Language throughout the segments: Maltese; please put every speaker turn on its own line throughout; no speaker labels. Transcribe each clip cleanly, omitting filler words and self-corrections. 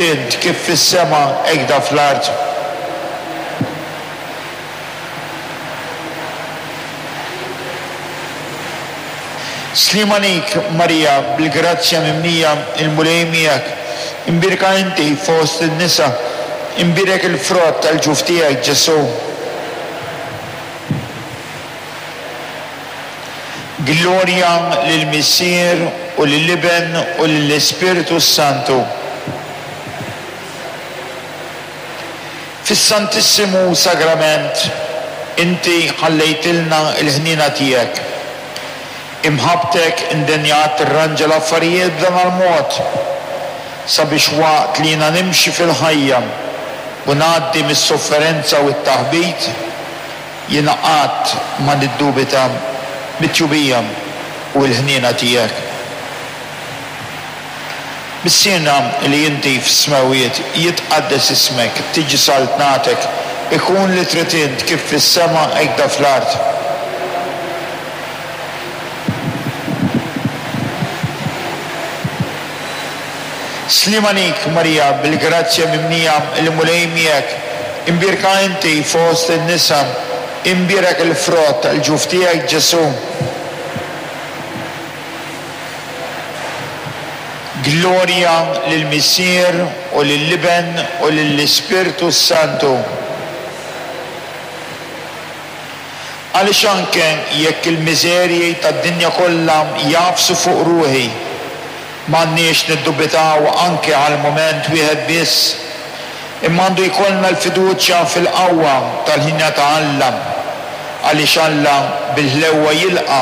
Int kif fis-sema hekda fl-art. Sliem għalik, Marija, bil-grazzja mimlija, il-Mulej miegħek. Imbierka inti fost in-nisa, imbierek il-frott tal-ġuf tiegħek, Ġesù. Glorja lill-Missier u lill-Iben u lill-Ispirtu s-Santu. Fis-Santissimu Sagrament inti ħallejtilna l-ħniena tiegħek. Imħabbtek indenjat tirranġa l-affarijiet b'dan l-mod, sabiex waqt li jiena nimxi fil-ħajja u ngħaddi mis-sofferenza u t-taħbit, Jiena qatt ma niddubita mit-tjubija u l-ħniena tiegħek. Missierna li inti fis-smewwiet, jitqaddes ismek, tiġi saltnatek, ikun li trid int kif fis-sema hekda fl-art. Sliem għalik, Marija, bil-grazzja mimlija, il-Mulej miegħek. Imbierka inti fost in-nisa, imbierek il-frott tal-ġuf tiegħek, Ġesù. Glorja lill-Missier u lill-Iben u lill-Ispirtu s-Santu. Għaliex anke jekk il-miżerji tad-dinja kollha jagħfsu fuq ruħi, m'għandniex niddubitaw anke għal mument wieħed biss, imma għandu jkollna l-fiduċja fil-qawwa tal-ħniena ta' Alla, għaliex Alla bil-ħlewwa jilqa'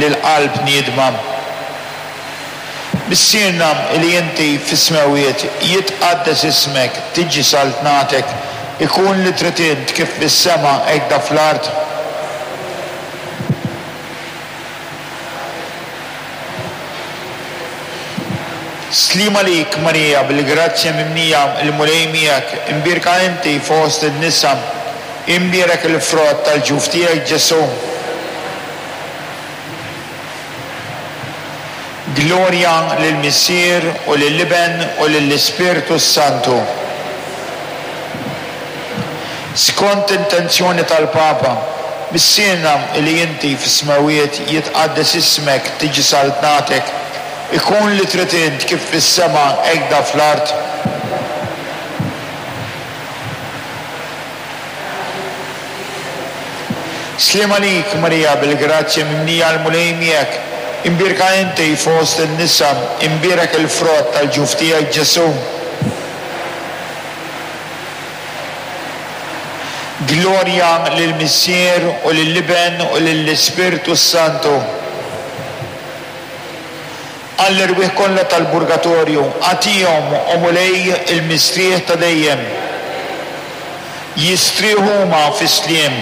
lill-qalb niedma. Missierna li inti fis-smewwiet, jitqaddes ismek, tiġi saltnatek, ikun li trid int kif fis-sema hekda fl-art. Sliem għalik, Marija, bil-grazzja mimlija, il-Mulej miegħek, imbierka inti fost in-nisa, imbierek il-frott tal-ġuf tiegħek, Ġesù. Glorja lill-Missier u lill-Iben u lill-Ispirtu s-Santu. Skont intenzjoni tal-Papa, Missierna li inti fis-smewwiet, jitqaddes ismek, tiġi saltnatek, ikun li trid int kif fis-sema hekda fl-art. Sliem għalik, Marija, bil-grazzja mimlija l-Mulej miegħek, imbierka inti fost in-nisa, imbierek il-frott tal-ġuf tiegħek, Ġesù. Glorja lill-Missier u lill-Iben u lill-Ispirtu s-Santu. Għall-erwieħ kollha tal-Purgatorju, agħtihom, o Mulej, il-mistrieħ ta' dejjem. Jistrieħu huma fis-sliem.